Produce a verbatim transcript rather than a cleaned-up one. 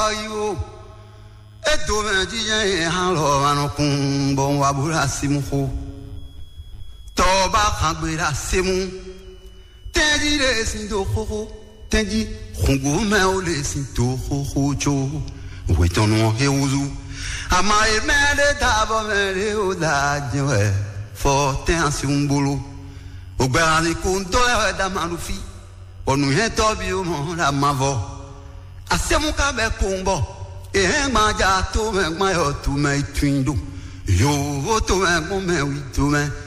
Ayiwo, e do mɛ jijɛ ye hã lɔ ma nɔ kun bɔ un wa bo ɖo asi mu xo. Tɔ ba hàn gbe ɖo asi mu. Tɛnji ɖe sin do xoxo. Tɛnji hungo mɛ o ɖe sin do xoxo tso. Wetɔnu ɔ he wuzu. Ama e mɛ ɖe da bɔ mɛ ɖe o da jɛ wɛ. Fɔ tɛn asi un bolo. Ogbɛ hàn ni ko un dɔ lɛ wɛ da ma ɖo fi. Bɔ nǔnyɛtɔ́ ví ó mɔ ɖo amavɔ. Asɛ́mú ka bɛ kpowun bɔ è hɛn gban ja tomɛ gban yɔ tomɛ yi tunwun ɖo. Yǒvó tomɛ gbɔn mɛ wi tomɛ.